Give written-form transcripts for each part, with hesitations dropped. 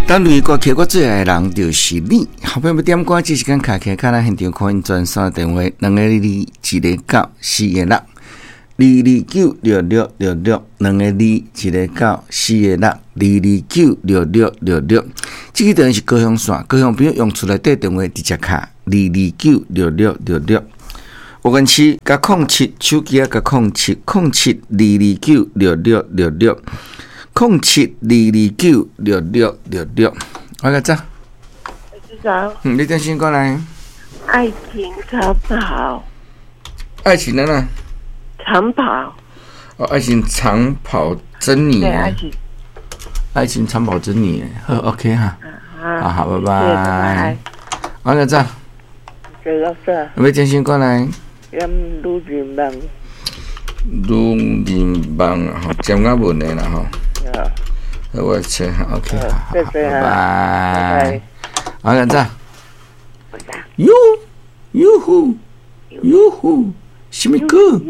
等雷歌曲，我最愛的人就是你。好朋友欲點歌，這時間敲起來，咱現場 call in 專線電話：2 2 1 9 4 6，2296666，2 2 1 9 4 6，2296666。這個電話是高雄線，高雄朋友用厝內底電話直接敲2296666。我跟七加07，手機仔加0707 2296666。07 2296666，我個早。早。嗯，你點先過來？愛情長跑。愛情的呢？長跑。哦，愛情長跑珍妮。對，愛情。愛情長跑珍妮，好，OK 哈。好，好，拜拜。我個早。老師。你點先過來？點女人夢。女人夢吼，占我問的啦吼。好，我切哈，OK，好，拜拜。好，咁早。喲，喲呼，喲呼，什麼歌？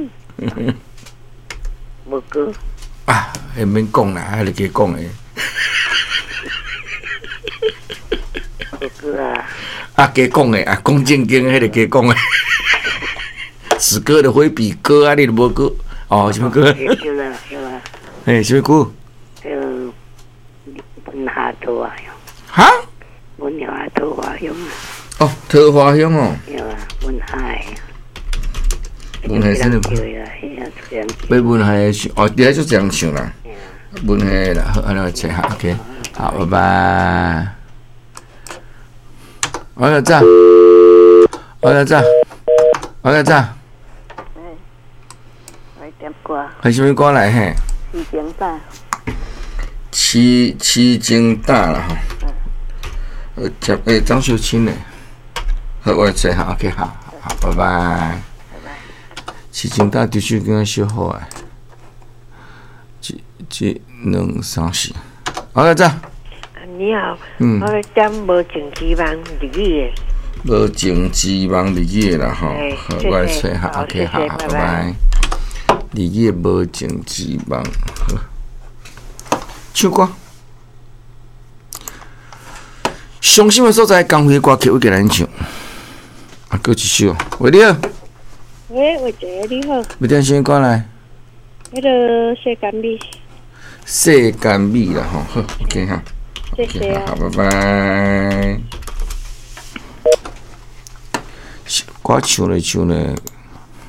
無歌。啊，會免講啦，還是加講的。無歌啊。啊，加講的啊，講正經，彼個加講的。此歌的回比歌啊，你都無歌哦？什麼歌？對啦，對啦。嘿，什麼歌？文夏桃花香。哈？文夏桃花香啊！哦，桃花香哦。對啊，文夏的。文夏真的。欲文夏的唱，哦，你愛做這樣唱啦。文夏的啦，好，按呢切下，OK，好，拜拜。我來早，我來早，我來早。來點歌。係啥物歌來嘿？痴情膽。痴痴情膽啦吼。接欸張秀清的，好，我來找下，OK，好，好，拜拜。拜拜。痴情膽這首歌小好啊。一、一、兩、三、四，我來早。你好，嗯，我點無情之夢日語的。無情之夢日語的啦吼，好，我來找下，OK，好，拜拜。日語的無情之夢，好，唱歌。傷心的所在，江輝歌曲我給咱唱。啊，閣一首，喂，你好。喂，偉杰，你好。欲點啥歌來？彼个世間美。世間美啦吼，好，OK 哈。謝謝好，拜拜。歌唱咧唱咧，